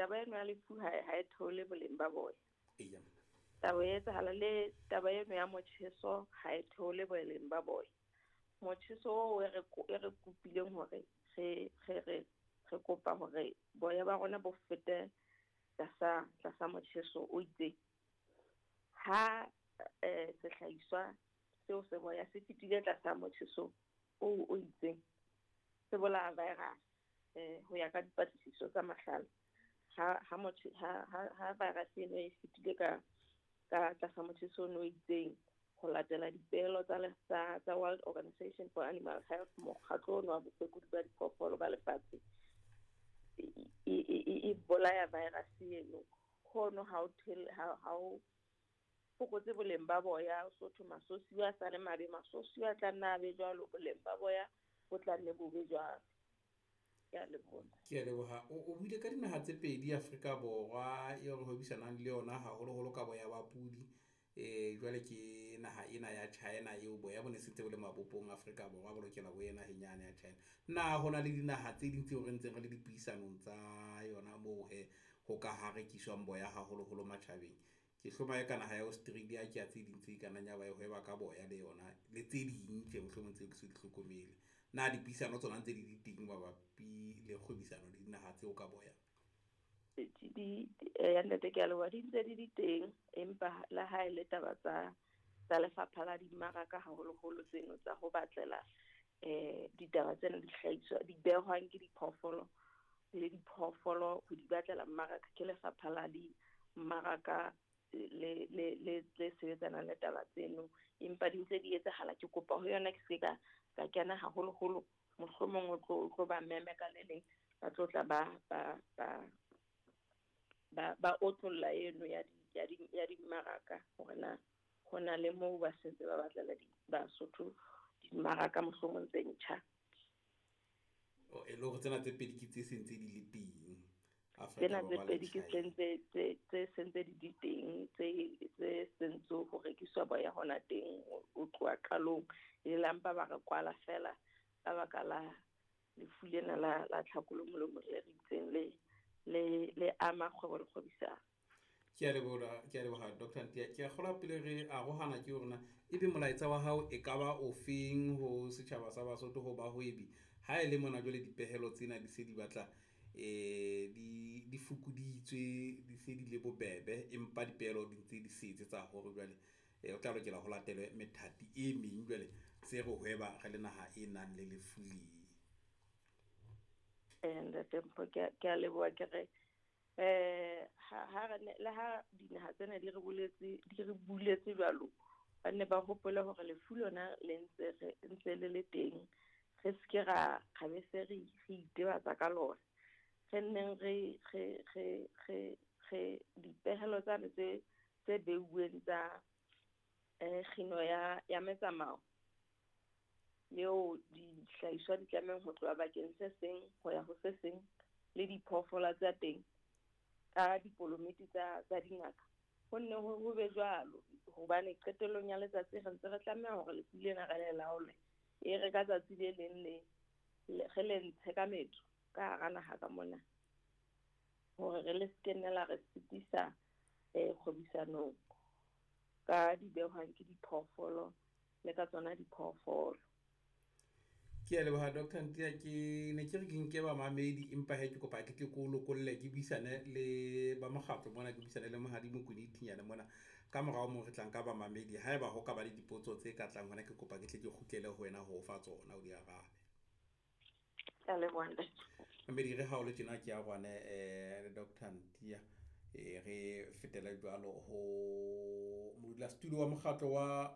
Taba eno ya lefu ha e theole boleng ba boya. Taba e etsahala le taba eno ya motjheso ha e theole boleng ba boya. Motjheso oo e re kopileng hore re kopa hore boya ba rona bo fete tlasa motjheso o itseng. Ha sehlahiswa seo se boya se fetile tlasa motjheso o itseng, se bolaya virus ho ya ka dipatlisiso tsa mahlale. Ha virus eno e fetile ka tlasa motjheso o itseng, ho latela dipehelo tsa World Organization for Animal Health, mokgatlo ono wa bophekodisi ba diphoofolo ba lefatshe, e bolaya virus eno. Hono ha o fokotse boleng ba boya, so thwe masosiwa a sale mabe, masosiwa a tla nna a be jwalo, boleng ba boya bo tla nne bo be jwalo. Ke a leboha. Ke a leboha. O buile ka dinaha tse pedi Afrika Borwa eo re hwebisanang le yona haholoholo ka boya ba pudi. Jwale ke naha ena ya China eo boya bo ne sentse bo le mabopong Afrika Borwa bo lokela bo ye naheng yane ya China. Na hona le dinaha tse ding tseo re ntseng re le dipuisanong tsa yona moo he ho ka ha rekiswang boya haholoholo matjhabeng? Ke hloma e ka naha ya Australia ke ya tse ding tse ka nnang ya ba e hweba ka boya le yona le tse ding tje mohlomong tseo ke so di hlokomele. Na dipuisano tsona ntse di le teng mabapi le kgwebisano le dinaha tseo ka boya? Ya nnete ke a leboha, di ntse di le teng, empa le ha e le taba tsa lefapha la dimmaraka haholoholo tseno tsa ho batlela ditaba tsena di hlahiswa di behwang ke diphoofolo le diphoofolo ho di batlela mmaraka ke lefapha la dimmaraka le sebetsanang le taba tseno, empa di ntse di etsahala. Ke kopa ho yona ke se ka kena haholoholo, mohlomong o tlo ba meme ka le leng ba tlo tla ba otlolla eno ya dimmaraka hore na ho na le moo ba sentse ba batlela Basotho dimmaraka mohlomong tse ntjha. E le hore tsena tse pedi ke tse sentse di le teng. Tsena tse pedi ke tse sentse di le teng, tse sentse ho rekiswa boya hona teng o tloha qalong. E le mpa ba re kwala fela ka baka la lefu lena la tlhakolo molomo le re itseng le ama kgwebo le kgwebisano. Ke a leboha Dr. Ntiea. Ke a kgolwa pele re arohana ke hore na ebe molaetsa wa hao e ka ba ofeng ho setjhaba sa Basotho ho bahwebi ha e le mona jwale dipehelo tsena di se di batla di fokoditswe, di se di le bobebe, empa dipehelo di ntse di setse tsa hore jwale o tla lokela ho latelwe methati e meng jwale se re hweba re le naha e nang le lefu le. Ntate Mpho, ke a leboha. Ke re ha le ha dinaha tsena di re buletse jwalo, ba nne ba hopole hore lefu lona le ntse le le teng, re se ke ra be se re itebatsa ka lona. Re nneng re dipehelo tsane tse beuweng tsa kgino ya metsamao eo dihlahiswa di tlamehang ho tloha bakeng se seng ho ya ho se seng le diphoofolo tsa teng ka dipolomiti tsa dingaka, ho nne ho be jwalo, hobane qetellong ya letsatsi re ntse re tlameha hore lefu lena re le laole. E re ka tsatsi le leng le re le ntshe ka metso ka hara naha ka mona, hore re le se nne la re sitisa kgwebisanong ka di behwang ke diphoofolo le ka tsona diphoofolo. Ke a leboha Dr. Ntiea. Ke ne ke re ke nke bamamedi, empa he ke kopa ke tle ke o lokolle ke buisane le ba mokgatlo mona, ke buisane le Mohadi Mokone Thinyane mona. Ka morao moo re tlang ka bamamedi, haeba ho ka ba le dipotso tse ka tlang hona, ke kopa ke tle ke kgutlele ho wena ho fa tsona o di arabe. Ke a leboha ntate. Mamedi re ha o le tjena ke a rwane le Dr. Ntiea. Re fetele jwalo ho modulasetulo wa mokgatlo wa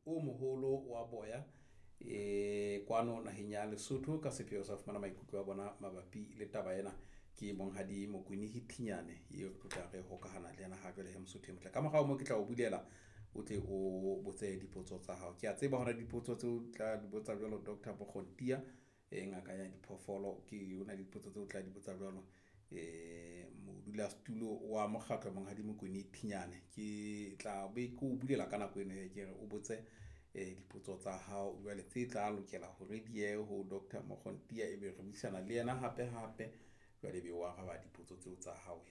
o moholo wa boya kwano naheng ya Lesotho ka sepheo sa fumana maikutlo a bona mabapi le taba ena. Ke Monghadi Mokone Thinyane eo re tla re hokahana le yena ha jwale he Mosotho e motle. Ka morao moo ke tla o bulela o tle o botse dipotso tsa hao. Ke a tseba hore dipotso tseo tla di botsa jwalo Dr. Mokgontia ngaka ya diphoofolo, ke ona dipotso tseo tla di botsa jwalo modulasetulo wa mokgatlo Monghadi Mokone Thinyane. Ke tla be ke o bulela ka nako eno ke re o botse dipotso tsa hao jwale tse tla lokela hore di ye ho Dr. Mokgontia, ebe re buisana le yena hape hape jwale be o araba dipotso tseo tsa hao.